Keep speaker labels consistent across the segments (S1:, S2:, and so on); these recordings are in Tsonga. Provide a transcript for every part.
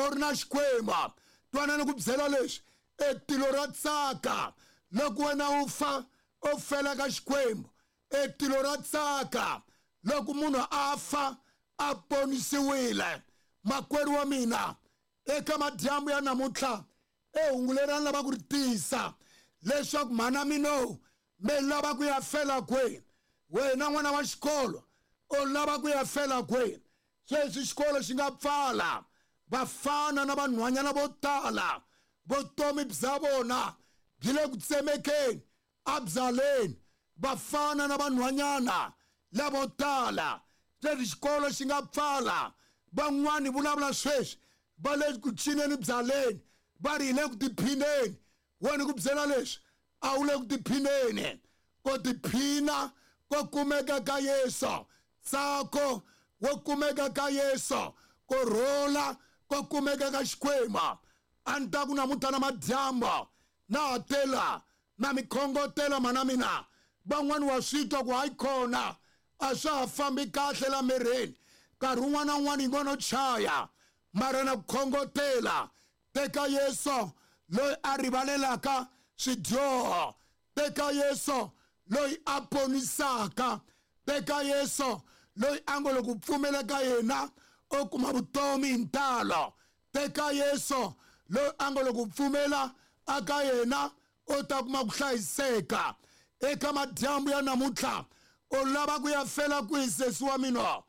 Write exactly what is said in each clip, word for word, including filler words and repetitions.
S1: u ri na Xikwembu. Twanani ku byela leswi, e tilo ra tsaka loko wena u fa u fela ka Xikwembu. E tilo ra tsaka loko munhu a fa a ponisiwile. Makwerhu wa mina, eka madyambu ya namuntlha e hungu leri a ni lava ku ri tisa leswaku mhana mina me lava ku ya fela kwihi. Wena n'wana wa xikolo u lava ku ya fela kwihi? Sweswi xikolo xi nga pfala, vafana na vanhwanyana vo tala vutomi bya vona byi le ku tsemekeni abyaleni. Vafana na vanhwanyana lavo tala sweswi xikolo xi nga pfala, van'wani vulavula sweswi va le ku cineni byaleni, va ri hi le ku tiphineni. Wena ku byela leswi, a wu le ku tiphineni. Ko tiphina ko kumeka ka Yesu, ntsako wo kumeka ka Yesu, ku rhula ko kumeka ka Xikwembu. A ni ta ku namuntlha na madyambu na ha tela na mi khongotela mana mina. Van'wani wa swi twa ku hayi khona a swa ha fambi kahle la mirini, nkarhi wun'wana na wun'wana yi ngo no chaya, mara na ku khongotela, teka Yesu loyi a rivalelaka swidyoho, teka Yesu loyi a ponisaka, teka Yesu loyi a ngo loko u pfumela ka yena u kuma vutomi hi ntalo, teka Yesu loyi a ngo loko u pfumela aka yena u ta kuma ku hlayiseka. Eka madyambu ya namuntlha u lava ku ya fela kwihi sesi wa mina?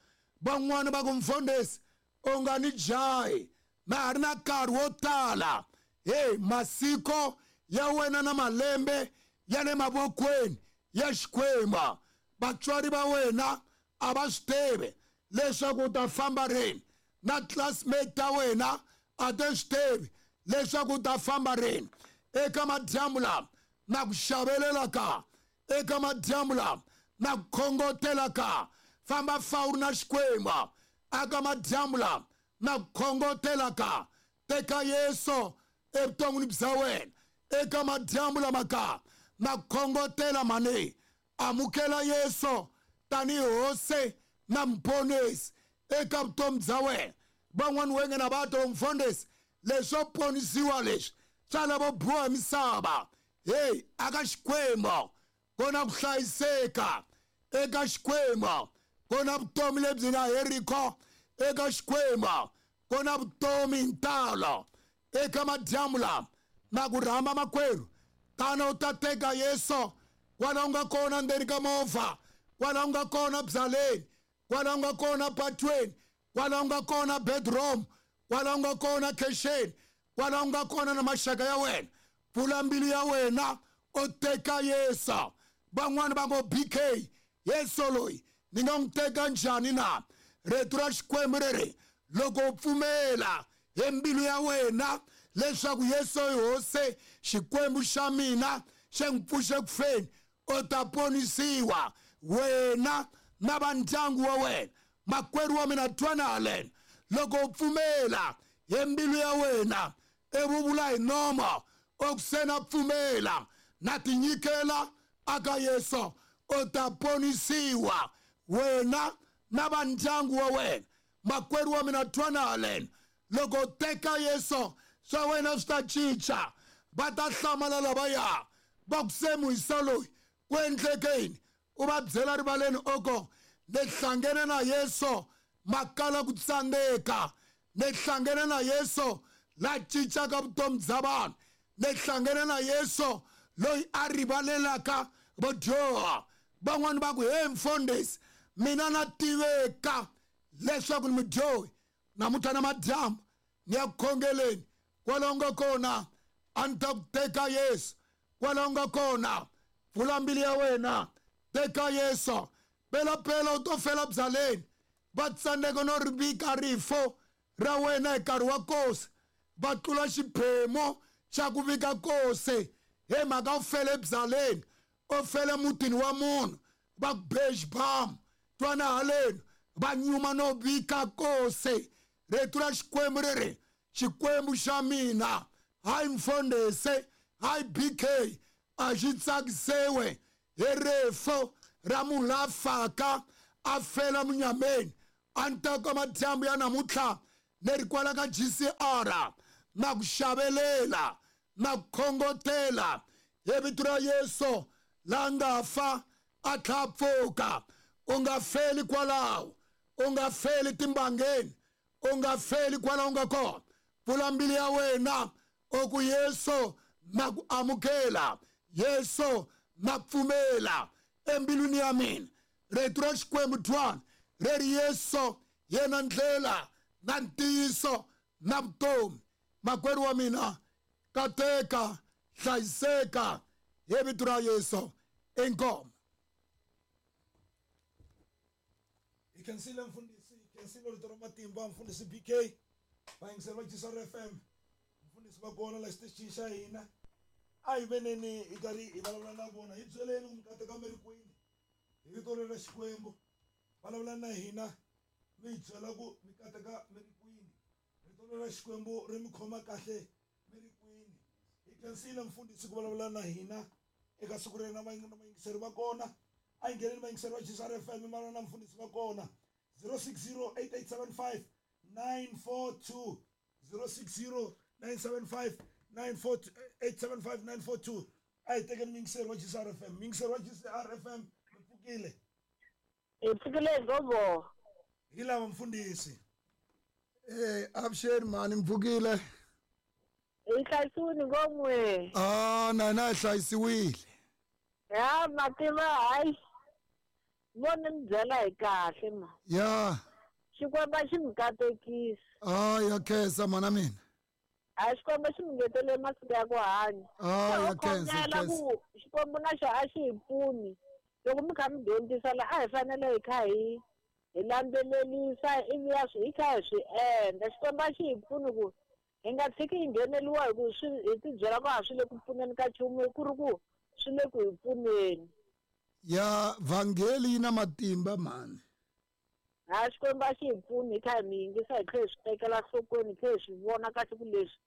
S1: Van'wani va ku mfundhisi u nga ni jahi, na ha ri na nkarhi wo tala. Hey, masiko ya wena na malembe ya le mavokweni ya Xikwembu. Vatswari va wena a va swi tivi leswaku u ta famba rini, na classmate ta wena a ti swi tivi leswaku u ta famba rini. Eka madyambu lama na ku xavelela ka, eka madyambu lama na ku khongotela ka, famba fa u ri na Xikwembu. Aka madyambu lama na ku khongotela ka, teka Yesu evuton'wini bya wena. Eka madyambu lama ka na ku khongotela mani, amukela Yesu tanihi Hosi na Muponisi eka vutomi bya wena. Van'wani wenge na va to mfundhisi leswo ponisiwa leswi swa lavo biwa hi misava. Hey, aka Xikwembu ku na ku hlayiseka, eka Xikwembu ku na vutomi lebyi nga heriko, eka Xikwembu ku na vutomi hi ntalo. Eka madyambu lama na ku rhamba makwerhu, tana u ta teka Yesu kwala u nga kona ndzeni ka movha, kwala u nga kona byaleni, kwala u nga kona patweni, kwala u nga kona bedroom, kwala u nga kona khexeni, kwala u nga kona na maxaka ya wena. Pfula mbilu ya wena u teka Yesu. Van'wani va ngo B K, Yesu loyi ni nga n'wi teka njhani na? Rito ra Xikwembu ri ri loko u pfumela hi mbilu ya wena leswaku Yesu i Hosi, Xikwembu xa mina xi n'wi pfuxe ku feni, u ta ponisiwa wena na va ndyangu wa wena. Makwerhu wa mina, twana haleno, loko u pfumela hi mbilu ya wena ivi u vula hi nomo u ku se na pfumela na tinyikela aka Yesu, u ta ponisiwa wena na va ndyangu wa wena. Makwerhu wa mina, twana haleno, loko u teka Yesu swa wena swi ta cinca. Va ta hlamala lavaya va ku se muhisa loyi ku endleke yini? U va byela rivaleni oko ni hlangene na Yesu makala ku tsandzeka, ni hlangene na Yesu la cincaka vutomi bya vanhu, ni hlangene na Yesu loyi a rivalelaka vadyoha. Van'wani va ku he mfundhisi, mina na tiveka leswaku ni mudyohi, namuntlha na madyambu ni ya ku khongeleni. Kwala u nga kona a ni ta ku teka Yesu, kwala u nga kona pfula mbilu ya wena, teka Yesu. Pelapela u to fela byaleni, va tsandzeka no ri vika rifo ra wena hi nkarhi wa nkosi, va tlula xiphemu xa ku vika nkosi hi mhaka u fele byaleni, u fele mutini wa munhu, va ku be xibamu. Twana haleno, va nyuma no vika nkosi. Rito ra Xikwembu ri ri Xikwembu xa mina, hayi mfundhisi, hayi B K, a xi tsakisiwe hi rifo ra munhu la faka a fela munyameni. A ni ta ka madyambu ya namuntlha ni ri kwala ka G C R na ku xavelela na ku khongotela hi vito ra Yesu la nga fa a tlha pfuka. U nga feli kwalaho, u nga feli timbangeni, u nga feli kwalaho u nga kona. Pfula mbilu ya wena u ku Yesu na ku amukela, Yesu na pfumela embilwini ya mina. Rito ra Xikwembu twana ri ri Yesu yena ndlela na ntiyiso na vutomi. Makwerhu wa mina, kateka, hlayiseka hi vito ra Yesu. Inkomu.
S2: Hi khensile mfundhisi, hi khensile rito ra matimba mfundhisi B K, vayingiseri va G C R F M, mfundhisi va kona la xitichini xa hina. A hi veneni hi karhi hi vulavula na vona, hi byeleni ku mi kateka mi ri kwini hi vito ra Xikwembu. Vulavula na hina mi hi byela ku mi kateka mi ri kwini, rito ra Xikwembu ri mi khoma kahle mi ri kwini. Hi khensile mfundhisi ku vulavula na hina eka siku rena vayingiseri va kona. A hi ngheneni vayingiseri va G C R F M, mi na mfundhisi va kona zero six zero eight eight seven five nine four two, zero six zero nine seven five nine four two, eight seven five nine four two. A hi tekeni muyingiseri wa G C R F M. Muyingiseri wa G C R F M, mi pfukile?
S3: Hi pfukile gogo.
S2: Hi lava mfundhisi.
S1: Eh, avuxeni mhani, mi pfukile?
S3: Hi hlayisiwile ngomwe.
S1: Ah, na na hlayisiwile.
S3: Ya mativa hayi. Vona mi byela hi kahle ma.
S1: Ya.
S3: Xikwembu xi mi katekisa.
S1: Ah, ya khensa mana mina.
S3: A Xikwembu xi mi ngetele masiku ya ku hanya.
S1: Ah, ya khensa.
S3: Ku Xikwembu na xo a xi hi pfuni. Loko mi kha mi dyondzisa la a hi fanele hi kha hi hi landzelelisa ivi ya swi hi kha hi swi endla. Xikwembu a xi hi pfuni ku hi nga tshiki hi ngheneliwa hi ku swi hi tibyela ku a swi le ku pfuneni ka nchumu ku ri ku swi le ku hi pfuneni.
S1: Ya vhangeli yi na matimba mhani.
S3: Ha Xikwembu a xi hi pfuni hi kha hi mi yingisa hi tlhela hi swi tekela nhlokweni hi tlhela hi swi vona kahle ku leswi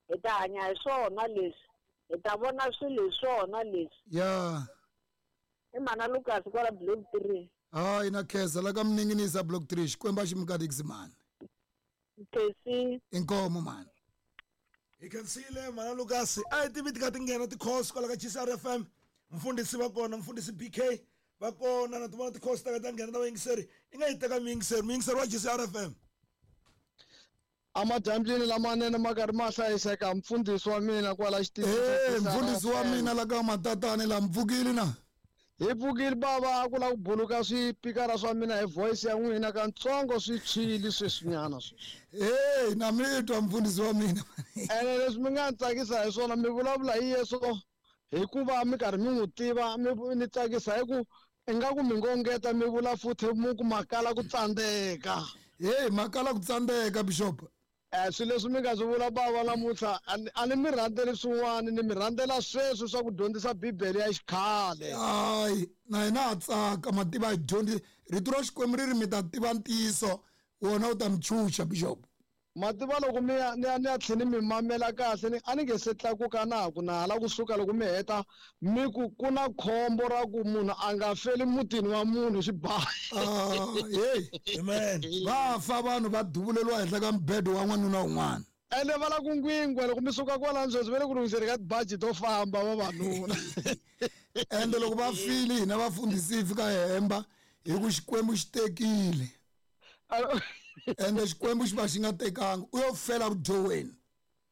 S3: hi ta hanya hi swona leswi hi ta vona swilo hi swona leswi.
S1: Ya.
S3: I mhana Lucas kwala block three.
S1: Hayi na khensa la ka Mninginisa block three. Xikwembu a xi mi katekisi mhani.
S3: Khensi.
S1: Inkomu mhani.
S2: Hi khensile mhana Lucas. A hi tivi ti kha ti nghena ti-calls kwala ka G C R F M. Mfundhisi va kona, mfundhisi B K va kona, na ti vona ti-calls ta ka ta nghena ta vayingiseri. I nga yi teka muyingiseri, muyingiseri wa G C R F M.
S4: Amadyambyini lamanene ma karhi ma hlayiseka mfundhisi wa mina kwala xitichini.
S1: Eh, mfundhisi wa mina la ka matatani la mpfukile na.
S4: Hi pfukile bava, a ku la ku buluka swipikara swa mina hi voice ya n'wina kantsongo swi tshwile sweswinyana sweswi.
S1: Eh, na mi twa mfundhisi wa mina.
S4: Ene leswi mi nga ni tsakisa hi swona mi vulavula hi Yesu hikuva mi karhi mi n'wi tiva, mi ni tsakisa hi ku ingaku mi ngo ngeta mi vula futhi mu ku makala ku tsandzeka.
S1: Hey, makala ku tsandzeka bishop.
S4: Eh, swilo leswi mi nga swi vula bava namuntlha a ni mi rhandzeli swin'wana, ni mi rhandzela sweswo swa ku dyondzisa Bibele ya xikhale.
S1: Hayi, na hina ha tsaka mativa hi dyondzi rito ra Xikwembu ri ri mi ta tiva ntiyiso wona wu ta mi chucha bishop.
S4: Mativa loko mi ya ni ya ni ya tlhela mi mamela kahle ni a ni nge se tlakuka na ku na hala kusuka loko mi heta mi ku ku na khombo ra ku munhu a nga feli mutini wa munhu xibayi.
S1: Ah, hey,
S2: amen.
S1: Va fa vanhu va duvuleliwa henhla ka mbedo wa n'wanuna un'wana.
S4: Ene va la ku ngwingwa loko mi suka kwalano sweswi va le ku lunghiseni ka tibaji to famba vavanuna.
S1: Ende loko va file hina vafundhisi hi fika hi hemba hi ku Xikwembu xi tekile. Ende Xikwembu xi va xi nga tekanga u yo fela vudyohweni.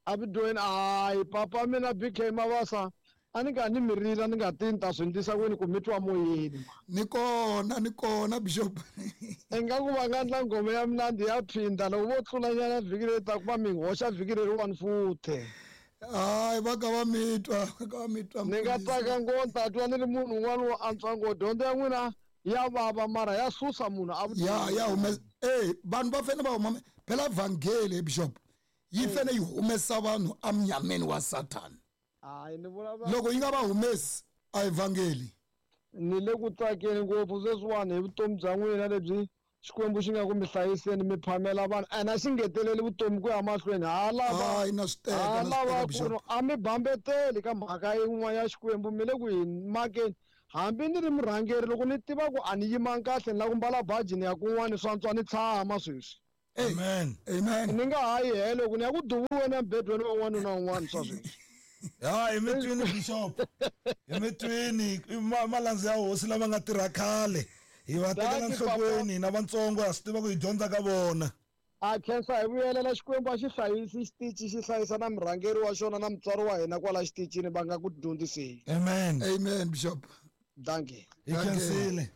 S4: A vudyohweni hayi papa mina B K Mabasa a ni nga ni mi rila ni nga ti ni ta swi endlisa kwini ku mi twa moyeni.
S1: Ni kona ni kona bishop.
S4: Ingaku va nga endla nghoma ya mnandi ya phinda loko vo tlulanyana vhiki leri taka va mi hoxa vhiki leriwani futhi.
S1: Hayi va ka va mi twa, va ka va mi twa.
S4: Ni nga tsaka ngopfu ni ta twa ni ri munhu un'wana wo antswa ngopfu. Dyondzo ya n'wina ya vava mara ya susa munhu a
S1: ya ya humesa. Eh, vanhu va fanele va huma phela vhangeli bishop yi fanele yi humesa vanhu emnyameni wa Satan.
S4: Hayi ni vulavula
S1: loko yi nga va humesi a evhangeli.
S4: Ni le ku tsakeni ngopfu sweswiwani hi vutomi bya n'wina lebyi Xikwembu xi nga ku mi hlayiseni mi phamela vanhu ene a xi ngeteleli vutomi ku ya mahlweni. Ha lava
S1: hayi na swi teka
S4: ha
S1: na swi
S4: lava
S1: teka
S4: ku
S1: bishop.
S4: ri a mi bambeteli ka mhaka yin'wana ya Xikwembu mi le ku hi makeni. Hambi ni ri murhangeri loko ni tiva ku a ni yimanga kahle ni lava ku mbala baji ni ya kun'wana swa antswa ni tshama sweswi.
S2: Amen.
S1: Amen.
S4: Ni nga ha yi helo ku ni ya ku duvuriweni embedweni wa n'wanuna un'wana swa sweswi.
S2: Ya hi mitwini bishop. Hi mitwini malandza ya hosi lava nga tirha khale. Hi va tekela nhlokweni na vantsongo ha swi tiva ku hi dyondza ka vona.
S4: A khensa hi vuyelela Xikwembu a xi hlayisi xitichi xi hlayisa na murhangeri wa xona na mutswari wa hina kwala xitichini va nga ku dyondziseni.
S2: Amen.
S1: Amen bishop.
S4: Dankie.
S2: Hi khensile.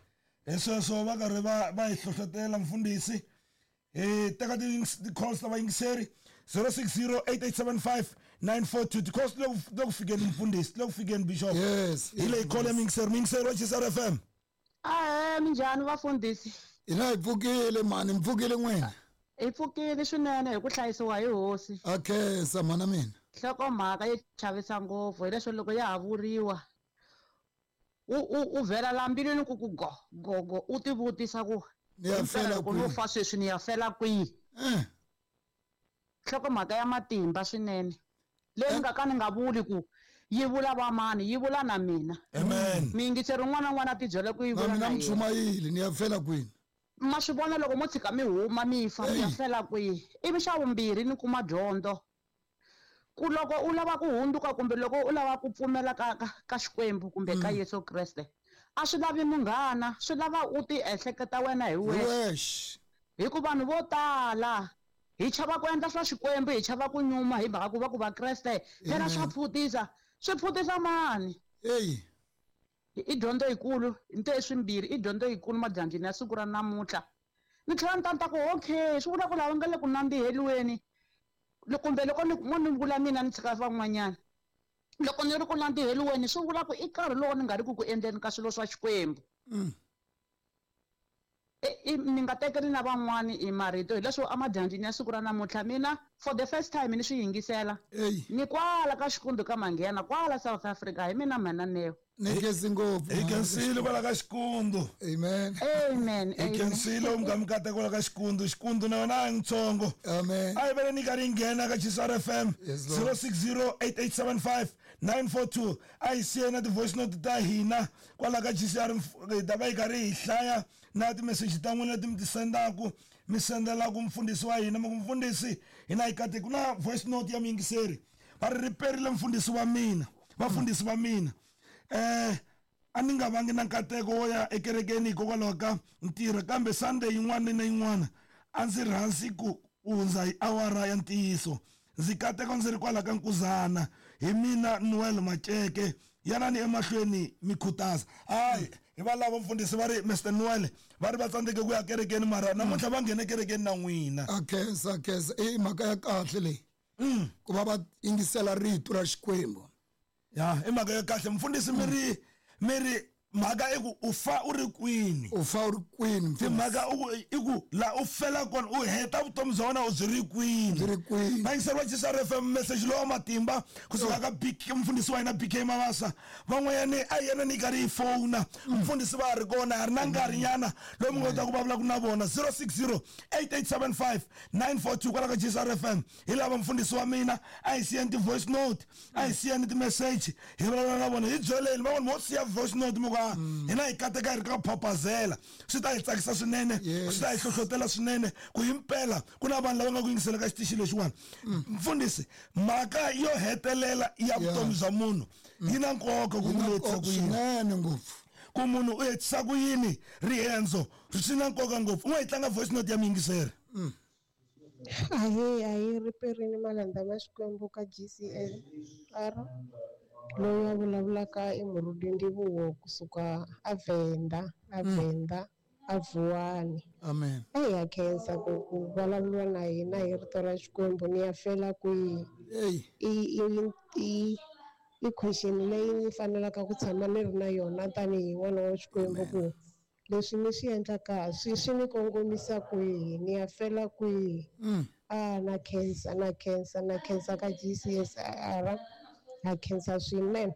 S2: Hi sweswo va karhi va va hi hlohlotela mfundhisi. Hi teka ti-calls ta vayingiseri zero six zero eight eight seven five nine four two. Ti-calls ti le ku fikeni mfundhisi, ti le ku fikeni bishop.
S1: Yes.
S2: Hi leyi call ya muyingiseri, muyingiseri wa G S R F M.
S5: Ahee, minjhani vafundhisi?
S1: Hina hi pfukile mhani, mi pfukile n'wina?
S5: Hi pfukile swinene hi ku hlayisiwa hi hosi.
S1: A khensa mhana mina.
S5: Nhlokomhaka yi chavisa ngopfu hileswo loko ya ha vuriwa u u u vhela la mbilwini ku ku go go go u tivutisa ku
S1: ni ya fela
S5: loko no fa sweswi ni ya fela kwihi. Nhlokomhaka ya matimba swinene leyi ni nga ka ni nga vuli ku yi vula vamani, yi vula na mina.
S2: Amen.
S5: Miyingiseri un'wana na un'wana a tibyele ku yi vula
S1: na mina
S5: na yena.
S1: Mchumayeli ni ya fela kwini.
S5: Ma swi vona loko mo tshika mi huma mi fa mi ya fela kwihi. Ivi xa vumbirhi ni kuma dyondzo ku loko u lava ku hundzuka kumbe loko u lava ku pfumela ka ka ka Xikwembu kumbe ka Yesu Kreste a swi lavi munghana, swi lava u ti ehleketa wena hi wexe. Hi ku vanhu vo tala hi chava ku endla swa Xikwembu, hi chava ku nyuma hi mhaka ku va ku va Kreste phela swa pfutisa, swi pfutisa mani.
S1: Eyi
S5: i dyondzo yikulu nte swimbirhi i dyondzo yikulu madyambyini ya siku ra namuntlha. Ni tlhela ni ta ni ta ku okay swi vula ku lava nga le ku nandziheliweni kumbe loko ni mo ni vula mina ni tshika van'wanyana loko ni ri ku nandziheliweni swi vula ku i nkarhi lowu ni nga ri ku ku endleni ka swilo swa Xikwembu. Ni nga tekeli na van'wani i marito hileswo emadyambyini ya siku ra namuntlha mina for the first time ni swi yingisela ni kwala ka Xikundu ka Manghena kwala South Africa hi mina mhana
S1: Ni khensi ngopfu.
S2: Hi khensile kwala ka Xikundu.
S1: Amen.
S5: Amen.
S2: Hi khensile u nga mikateko kwala ka Xikundu. Xikundu na yona a ntsongo.
S1: Amen.
S2: A hi vele ni karhi yi nghena ka G S R F M zero six zero eight eight seven five nine four two. A hi siye na ti-voice note ta hina kwala ka G C R hi ta va hi karhi hi hlaya na ti-message ta n'wina leti mi ti sendaku mi sendelaku mfundhisi wa hina mi ku mfundhisi hina hi kateki. Ku na voice note ya muyingiseri va ri riperile mfundhisi wa mina, vafundhisi va mina. Eh a ni nga vangi na nkateko wo ya ekerekeni hikokwalaho ka ntirho kambe Sunday yin'wana na yin'wana a ndzi rhandzi ku hundza hi awara ya ntiyiso. Ndzi kateka ndzi ri kwala ka Nkuzana hi mina Noel Maceke yanani emahlweni mi khutaza. Hayi hi va lava mfundhisi va ri Mister Noel va ri va tsandzeke ku ya kerekeni mara namuntlha va nghene kerekeni na n'wina.
S1: A khensa, a khensa. I mhaka ya kahle leyi ku va va yingisela rito ra Xikwembu.
S2: Ya i mhaka ya kahle mfundhisi mi ri mi ri mhaka i ku u fa u ri kwini.
S1: U fa u ri kwini
S2: timhaka i ku la u fela kona u heta vutomi bya wena u byi ri kwini.
S1: Byi ri kwini.
S2: Vayingiseri va G S R F M message lowa matimba kusuka ka B K mfundhisi wa hina B K Mabasa van'wanyani a yena ni karhi yi fona mfundhisi va ha ri kona ha ri na nkarhinyana lowu mi nga kotaka ku vulavulaka na vona zero six zero eight eight seven five nine four two kwala ka G S R F M. Hi lava mfundhisi wa mina a hi siyeni ti-voice note a hi siyeni ti-message hi vulavula na vona hi byeleni van'wani mo siya voice note mi ku hina hi kateka hi ri ka phapazela swi ta hi tsakisa swinene swi ta hi hlohlotela swinene ku himpela ku na vanhu lava nga ku yingisela ka xitichi lexiwani. Mfundhisi mhaka yo hetelela ya vutomi bya munhu yi na nkoka ku letisa ku yini
S1: swinene ngopfu
S2: ku munhu u hetisa ku yini riendzo swi na nkoka ngopfu. U nga yi tlanga voice note ya muyingiseri.
S6: Ahee, ahee riperini malandza ma Xikwembu ka G C S R loyi a vulavulaka i Murudi Ndivhuwo kusuka aVenda, aVenda, aVuwani.
S1: Amen.
S6: A hi ya khensa ku ku vulavuriwa na hina hi rito ra Xikwembu ni ya fela kwihi. I i i i question leyi ni fanelaka ku tshama ni ri na yona tanihi n'wana wa Xikwembu ku leswi ni swi endlaka swi swi ni kongomisa kwihi, ni ya fela kwihi. A na khensa, na khensa, na khensa ka G C S R. Ha khensa swinene.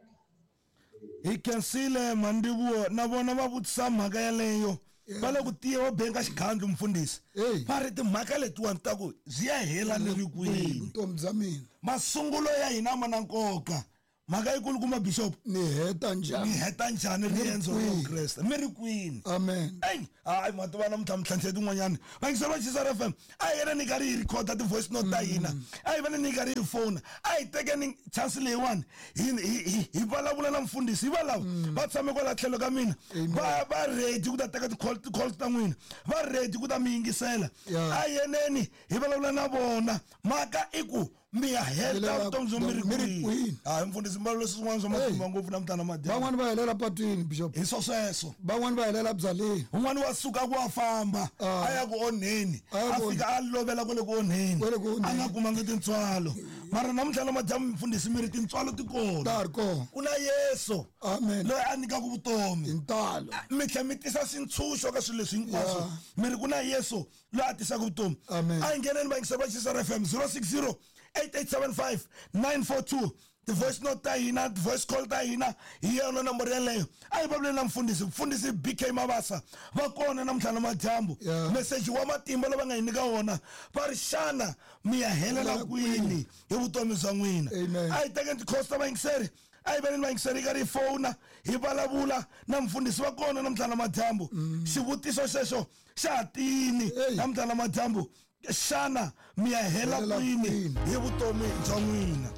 S2: Hi khensile Mandivuo na vona va vutisa mhaka yaleyo va le ku tiya va benga xigandlu mfundhisi va ri timhaka letiwani ta ku byi ya hela ni ri kwihi
S1: vutomi bya mina.
S2: Masungulo ya hina ma na nkoka Mhaka yikulukumba bishop
S1: ni heta njhani
S2: ni heta njhani riendzo ra Vukreste mi ri kwini
S1: amen
S2: ey hayi mativa namuntlha mintlhantlha tin'wanyana vayingiseri va Chisa F M a hi yena ni karhi hi rhikhoda ti-voice note ta hina a hi vane ni karhi hi fona a hi tekeni chance leyiwani hi hi vulavula na mfundhisi hi valava va tshame kwala tlhelo ka mina va va ready ku ta teka ti-calls ta n'wina va ready ku ta mi yingisela a hi yeneni hi vulavula na vona mhaka i ku mi ya heta vutomi byo mi ri kwini hayi mfundhisi mbalo leswi swin'wana swa matimba ngopfu namuntlha na madyambu
S1: van'wani va helela patwini bishop
S2: hi swo sweswo
S1: van'wani va helela byaleni
S2: un'wana wa suka ku wa famba a ya ku onheni a fika a lovela kwale ku onheni a nga kumanga tintswalo mara namuntlha na madyambu mfundhisi mi ri tintswalo ti kona
S1: ta ri kona
S2: ku na Yesu
S1: amen
S2: loyi a nyikaka vutomi
S1: hi ntalo
S2: mi tlhela mi tisa swintshunxo ka swilo leswi hinkwaswo mi ri ku na Yesu loyi a tisaka vutomi a hi ngheneni vayingiseri va Chisa F M zero six zero eight eight seven five nine four two the voice note ta hina the voice call ta hina hi yona nomboro yeleyo a hi vulavuleni na mfundhisi mfundhisi B K Mabasa va kona namuntlha na madyambu meseji wa matimba lowu va nga hi nyika wona va ri xana mi ya helela kwini hi vutomi bya n'wina a hi tekeni ti-calls ta vayingiseri a hi veneni vayingiseri hi karhi hi fona hi vulavula na mfundhisi va kona namuntlha na madyambu xivutiso xexo xa ha tini namuntlha na madyambu xana mi ya hela kwini hi vutomi bya n'wina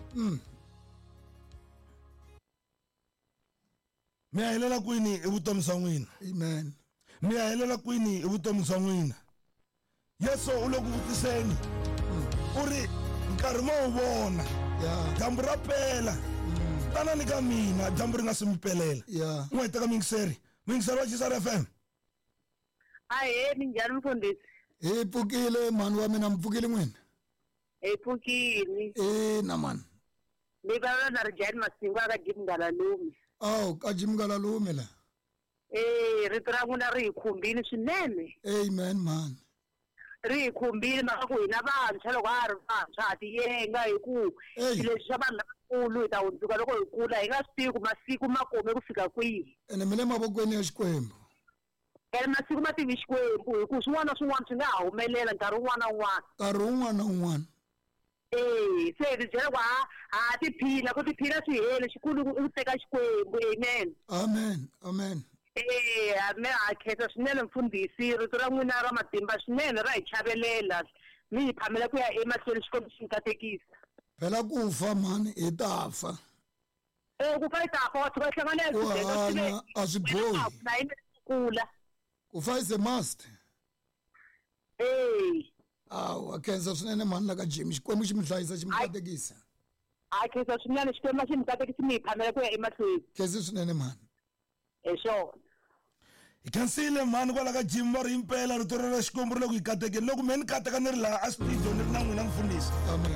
S2: mi ya helela kwini hi vutomi bya n'wina
S1: amen
S2: mi ya helela kwini hi vutomi bya n'wina Yesu u le ku vutiseni u ri nkarhi ma wu vona dyambu ra pela tanani ka mina dyambu ri nga se mi pelela n'we hi teka muyingiseri muyingiseri wa Chisa F M
S3: ahee minjhani mfundhisi
S1: hi pfukile mhani wa mina mi pfukile n'wina
S3: hi pfukile
S1: ina mani
S3: ni vulavula na Rijani Masingo a ka Jim Ngalalume
S1: awu ka Jim Ngalalume la
S3: e rito ra n'wina ri hi khumbile swinene
S1: amen mhani
S3: ri hi khumbile mhaka ku hina vantshwa loko a ha ri vantshwa ha tiyenga hi ku leswi swa vanhu lavakulu hi ta hundzuka loko hi kula hi nga swi tivi ku masiku ma kome ku fika kwihi
S1: ene mi le mavokweni ya Xikwembu
S3: ene masiku ma tivi Xikwembu hi ku swin'wana na swin'wana swi nga ha humelela nkarhi wun'wana na wun'wana
S1: nkarhi wun'wana na wun'wana
S3: e se hi tibyela ku ha ha tiphina ku tiphina swi heli xikulu i ku teka Xikwembu amen
S1: amen amen
S3: e me ha khensa swinene mfundhisi rito ra n'wina ra matimba swinene ra hi chavelela mi hi phamela ku ya emahlweni Xikwembu xi mi katekisa
S1: phela ku fa mhani hi ta fa
S3: e ku fa hi ta fa wa tshuka hi hlangana
S1: ku hanya a swi bohi
S3: kula
S1: ku fa is a must
S3: e
S1: awu a khensa swinene mhani la ka Jim Xikwembu xi mi hlayisa xi mi katekisa
S3: a khensa swinene Xikwembu xi mi katekisa mi hi phamela ku ya emahlweni
S1: khensi swinene mhani
S3: hi swona
S2: hi khensile mhani kwala ka Jim va ri impela rito ra Xikwembu ri le ku hi katekeni loko me ni kateka ni ri laha a studio ni ri na n'wina mfundhisi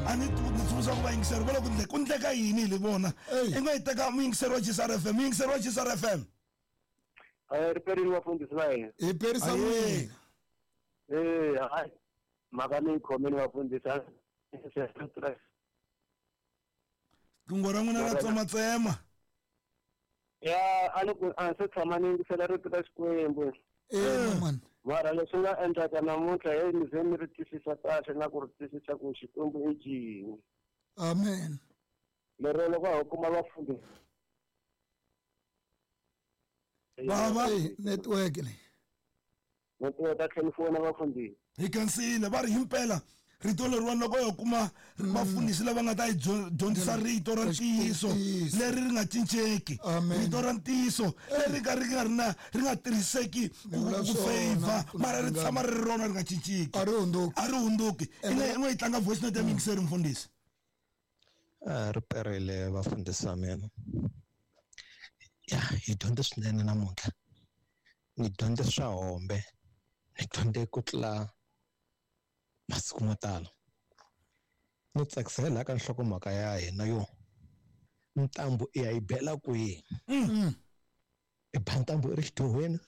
S2: a ni ni tsundzuxa ku vayingiseri va le ku ku ndleka yini hi le vona i nga yi teka muyingiseri wa Chisa F M muyingiseri wa Chisa F M
S7: ri perile vafundhisi va hina
S1: hi perisa n'wina
S7: e hayi mhaka leyi khomeni vafundhisi
S2: riqingho ra n'wina ra tsematsema
S7: ya a ni ku a se tshama ni yingisela rito ra Xikwembu
S1: ina
S7: mara leswi nga endlaka namuntlha heyi ni ze ni ri twisisa kahle na ku ri twisisa ku Xikwembu i cini
S1: amen
S7: lero loko ho kuma vafundhisi
S2: baba
S1: network leyi
S7: network a tlhela fona vafundhisi
S2: hi khensile va ri himpela rito leriwani loko yo kuma vafundhisi lava nga ta hi dyondzisa rito ra ntiyiso leri ri nga cinceki rito ra ntiyiso leri ka ri nga ri na ri nga tirhiseki ku favor mara ri tshama ri ri rona ri nga cinceki
S1: a ri hundzuki
S2: a ri hundzuki i nga i nga yi tlanga voice note ya muyingiseri mfundhisi
S8: a ri perile vafundhisi va mina ya hi dyondze swinene namuntlha ni dyondze swa hombe ni dyondze ku tlula masiku mo tala ni tsakisa hi laha ka nhlokomhaka ya hina yo ntambu i ya yi bela kwihi i ba ntambu i ri xidyohweni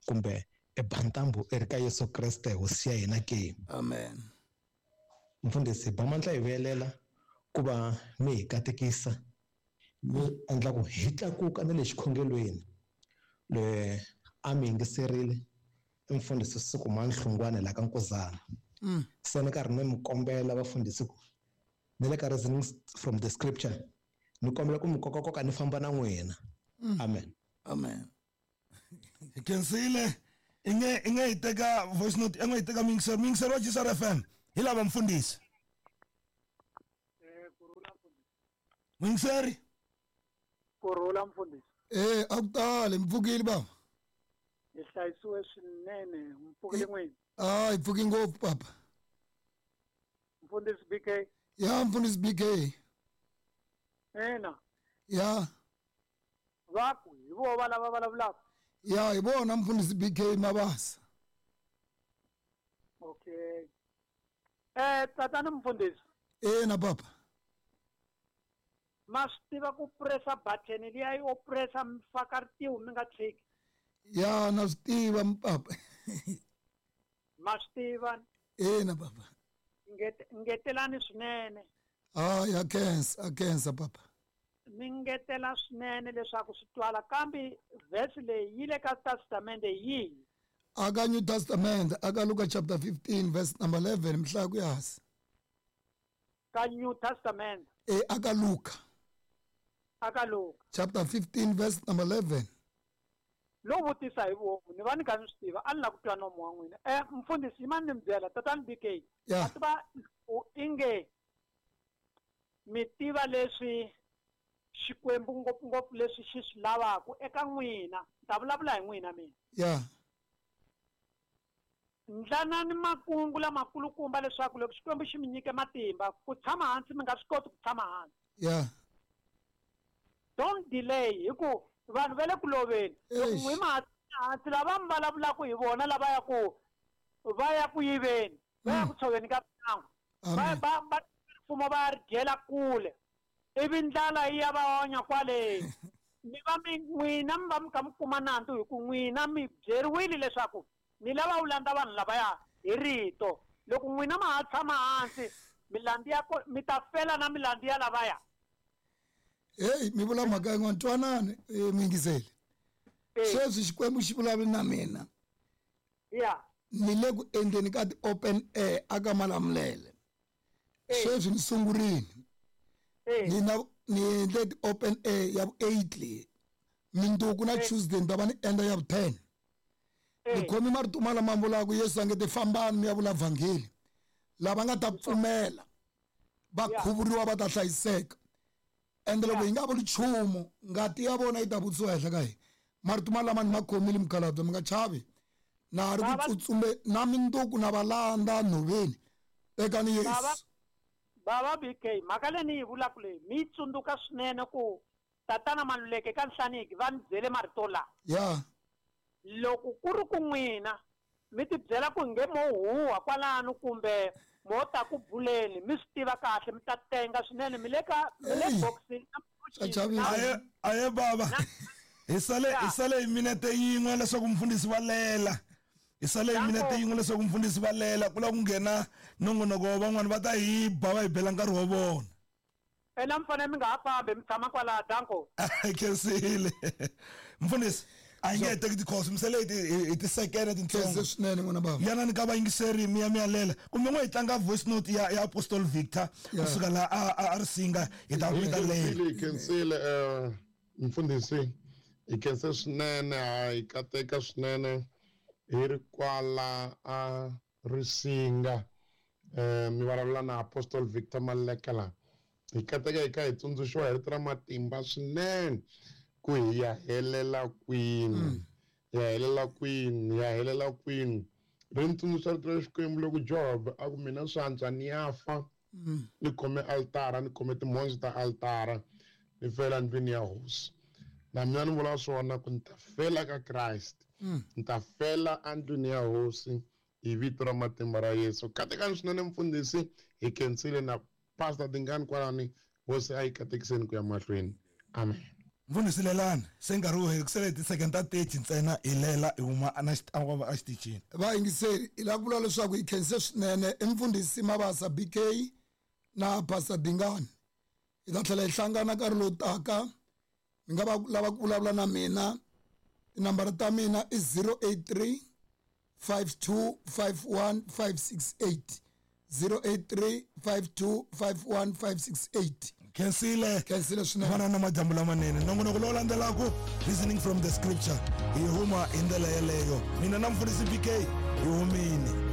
S8: kumbe i ba ntambu i ri ka Yesu Kreste hosi ya hina ke
S1: amen
S8: mfundhisi ba mandla hi vuyelela ku va mi hi katekisa mi endla ku hi tlakuka na le xikhongelweni le a mi yingiserile i mfundhisi Sukumani Nhlungwane laha ka Nkuzana se ni karhi ni mi kombela vafundhisi ku ni le ka reasoning from the scripture Ni kombela ku mi kokakoka ni famba na n'wina. Amen.
S1: Amen.
S2: Hi khensile. I nge i nge hi teka voice note, i nge hi teka mixer, mixer wa G S R F M. Hi lava mfundhisi.
S9: Eh kurula mfundhisi.
S2: Mixer.
S9: Kurula mfundhisi.
S1: Eh a ku tali mpfukile baba.
S9: Hi hlayisiwe swinene, mpfukile n'wini.
S1: Ah, hi pfuki ngopfu papa.
S9: Mfundhisi B K.
S1: Ya mfundhisi B K.
S9: Ena.
S1: Ya.
S9: Va ku hi vo va lava vulavulaka.
S1: Ya hi vona mfundhisi B K Mabasa.
S9: Okay. Eh tatana mfundhisi.
S1: Ena papa.
S9: Ma swi tiva ku pressa button liya yo pressa mi faka ritiho mi nga tshiki.
S1: Ya na swi tiva papa.
S9: Ma swi tiva.
S1: Ena papa.
S9: Ngetelani swinene.
S1: Ah ya khensa, a khensa papa.
S9: Mi ngetela swinene leswaku swi twala kambe verse leyi yi le ka Testamente yihi?
S1: Aka New Testament, aka Luka chapter fifteen verse number eleven mhla ku yasi.
S9: Ka New Testament.
S1: Eh aka Luka.
S9: Aka Luka.
S1: Chapter fifteen verse number eleven.
S9: Lo vutisa hi vomu ni va ni kha ni swi tiva a ni lava ku twa nomu wa n'wina. Eh mfundhisi yimani ni mi byela tatana B K.
S1: Yeah.
S9: A tiva u inge mi tiva leswi Xikwembu ngopfungopfu leswi xi swi lavaka eka n'wina. Ni ta vulavula hi n'wina mina.
S1: Yeah.
S9: Ndlanani makungu lamakulukumba leswaku loko Xikwembu xi mi nyike matimba ku tshama hansi mi nga swi koti ku tshama hansi.
S1: Yeah.
S9: Don't delay hi ku vanhu va le ku loveni. Loko n'wi ma hansi lava mi vulavulaka hi vona lava ya ku va ya ku yiveni, va ya ku tshoveni ka mhangu. Va va va mfumo va ri dyela kule. Ivi ndlala yi ya va onya kwale. Mi va mi n'wina mi va mi kha mi kuma nandzu hi ku n'wina mi byeriwile leswaku mi lava u landza vanhu lavaya hi rito. Loko n'wina ma ha tshama hansi milandzu ya mi ta fela na milandzu ya lavaya.
S1: Hey mi vula mhaka yin'wana twanani muyingiseli. Sweswi Xikwembu xi vulavula na mina.
S9: Yeah.
S1: Ni le ku endleni ka ti-open air aka Malamulele. Sweswi ni sungurile. Ni na ni endle ti-open air ya vu eight leyi. Minduku na Tuesday ni ta va ni endla ya vu ten. Ni khomi marito ma lama vulaka Yesu a nge te fambani mi ya vula vhangeli. Lava nga ta pfumela va khuvuriwa va ta hlayiseka. Ende loko hi nga vuli nchumu ngati ya vona yi ta vutisiwa henhla ka hina. Marito ma lama ni ma khomile mukhalabye mi nga chavi. Na ha ri ku tsutsume na minduku na va landza nhoveni. Tekani Yesu.
S9: Baba B K mhaka leyi ni yi vulaka leyi mi yi tsundzuka swinene ku tatana Maluleke ka Nhlaniki va ni byele marito lawa.
S1: Yeah.
S9: Loko ku ri ku n'wina mi ti byela ku nge mo huwa kwalano kumbe mo ta ku buleni mi swi tiva kahle mi ta tenga swinene mi le ka mi le boxini.
S2: Aye aye baba. Hi sale hi sale hi minete yin'we leswaku mfundhisi va lela. Hi sale hi minete yin'we leswaku mfundhisi va lela ku lava ku nghena nongonoko wa van'wani va ta hi ba va hi bela nkarhi wa vona.
S9: Ena mi fanele mi nga ha fambi mi tshama kwalaha danko.
S2: Khensile. Mfundhisi a hi nge teki ti-calls mi sale hi tisekene tintsongo
S1: swinene n'wina baba.
S2: Yanani ka vayingiseri mi ya mi ya lela kumbe n'we hi tlanga voice note ya ya Apostle Victor kusuka laha a a ri singa hi ta mi ta lela.
S10: Hi khensile eh mfundhisi hi khense swinene hi kateka swinene hi ri kwala a Risinga eh mi vulavula na Apostle Victor Maluleke la. Hi kateka hi kha hi tsundzuxiwa hi rito ra matimba swinene ku hi ya helela kwini. Ya helela kwini, ya helela kwini. Ri ni tsundzuxa rito ra Xikwembu loko Job a ku mina swi antswa ni ya fa ni khome altara ni khome timhondzo ta altara ni fela ndlwini ya hosi. Na mina ni vula swona ku ni ta fela ka Christ. Ni ta fela endlwini ya hosi hi vito ra matimba ra Yesu. Katekani swinene mfundhisi hi khensile na Pastor Dingani kwalani hosi a yi katekiseni ku ya mahlweni. Amen.
S2: Mfundhisi lelani se nkarhi wu heli ku sele ti-second ta thirty ntsena hi lela hi huma a xitichini.
S1: Vayingiseri hi lava ku vula leswaku hi khense swinene i mfundhisi Mabasa B K na Pastor Dingani. Hi ta tlhela hi hlangana nkarhi lowu taka. Mi nga va lava ku vulavula na mina tinambara ta mina i zero eight three five two five one five six eight zero eight three five two five one five six eight.
S2: Khensile.
S1: Khensile swinene.
S2: Vana na madyambu lamanene. Nongonoko lowu landzelaka, reasoning from the scripture, hi huma hi ndlela yeleyo. Mina na mfundhisi B K hi humini.